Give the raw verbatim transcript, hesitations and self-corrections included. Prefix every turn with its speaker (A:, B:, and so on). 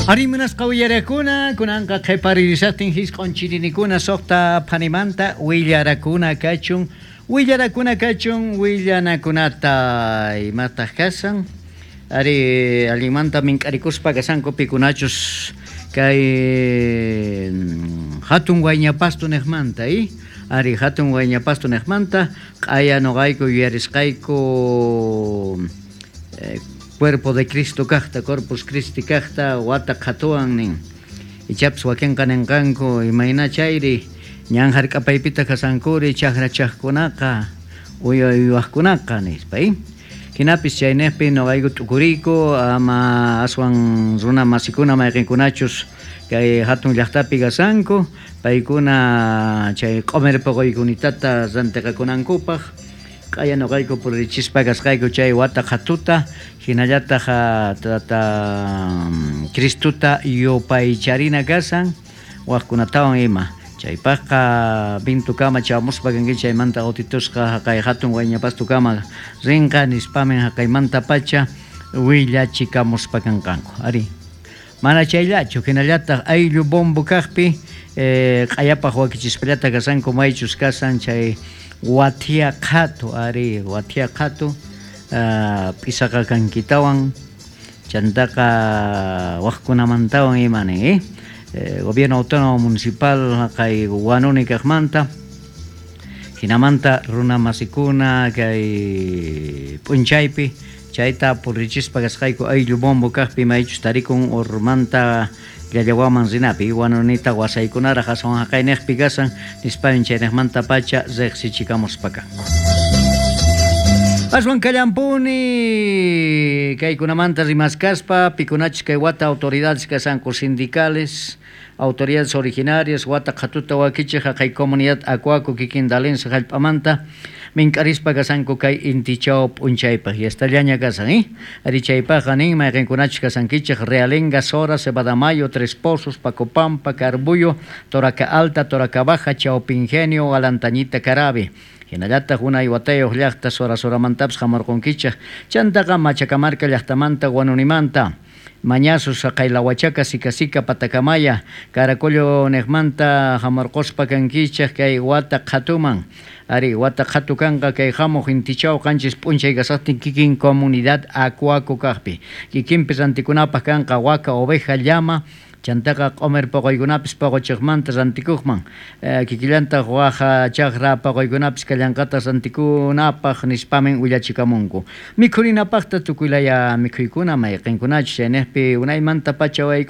A: Arimunasqa willarakuna kunanqa qhiparirisaqtin hisq'un chirinikuna suqta phanimanta willarakuna kachun willarakuna kachun willanakunata imataq kasan ari allinmanta mink'arikuspa kasanku pikunachus kay hatun wayñapastu niqmanta i ari hatun wayñapastu niqmanta q'aya nuqayku yuyarisqayku eh, Cuerpo de Cristo kaqta, Corpus Christi kaqta, wata qhatuwan nin. Ichapis wakinqa ninqanku imayna chayri ñan hark'apaypita kasankuri chakra chaqkunaqa uywa uywaqkunaqa nispa i. Hinapis chayniqpi nuqayku t'ukuriyku ama aswan runa masikuna mayqinkunachus kay hatun llaqtapi kasanku paykuna chay q'umir puquykunitata rantiqakunankupaq q'aya nuqayku purichispa kasqayku chay wata qhatuta hinallataq tata Cristuta yupaycharina kasan waqkunatawan ima chaypaqqa bintukama chamuspa kanki chaymanta autitusqa haqay hatun wayñapastukama rinqa nispamin haqaymanta pacha willachikamuspa kanqanku ari mana chayllachu hinallataq ayllu bombo kaqpi eh, q'ayapaq wakichispallata kasanku maychus kasan chay wathia qhatu ari wathia qhatu uh, p'isaqa kankitawan chantaqa waqkunamantawan imani eh? Eh, gobierno autónomo municipal kay Huanuni kaqmanta hinamanta runa masikuna kay p'unchaypi chayta purichispa kasqayku ayllu bombo kaqpi maychus tarikun urmanta llallawaman rinapi Huanunita wasaykunaraq aswan haqayniqpi kasan nispamin chayniqmanta pacha riqsichikamuspa kanku. Aswan kallampuni kaykunamanta rimaskaspa pikunachus kay wata autoridades kasanku sindicales autoridades originarias wata qhatuta wakichiq haqay comunidad Acuaco kikin Dalense hallp'amanta mink'arispa kasanku kay intichaw p'unchaypaq yastallaña kasan eh ari chaypaqqa nin mayqinkunachus kasankichik Realenga, Sora, Cebadamayo, Tres Pozos, Pacopampa, Carbuyo, Toraca Alta, Toraca Baja, Chaupingenio, Alantañita, Carabi hinallataq unay watayuq llaqta Sora Soramantapas hamurqunkichik chantaqa Machacamarca llaqtamanta Huanunimanta Mañazos, Saqaylahuachaca, Sicasica, Patacamaya, Caracollo niqmanta hamurquspa kankichik kay wata qhatuman ari wata qhatu kanqa kay hamuq intichaw qanchis p'unchay kasaqtin kikin comunidad Acuaco kaqpi kikinpi rantikunapaq kanqa waka, oveja, llama chantaqa q'umir puquykunapis puquchiqmanta rantikuqman eh, kikillantaq waja chaqra puquykunapis kallanqataq rantikunapaq nispamin willachikamunku mikhurinapaqta tukuylaya mikhuykuna mayqinkunachus chayniqpi unaymanta pacha wayku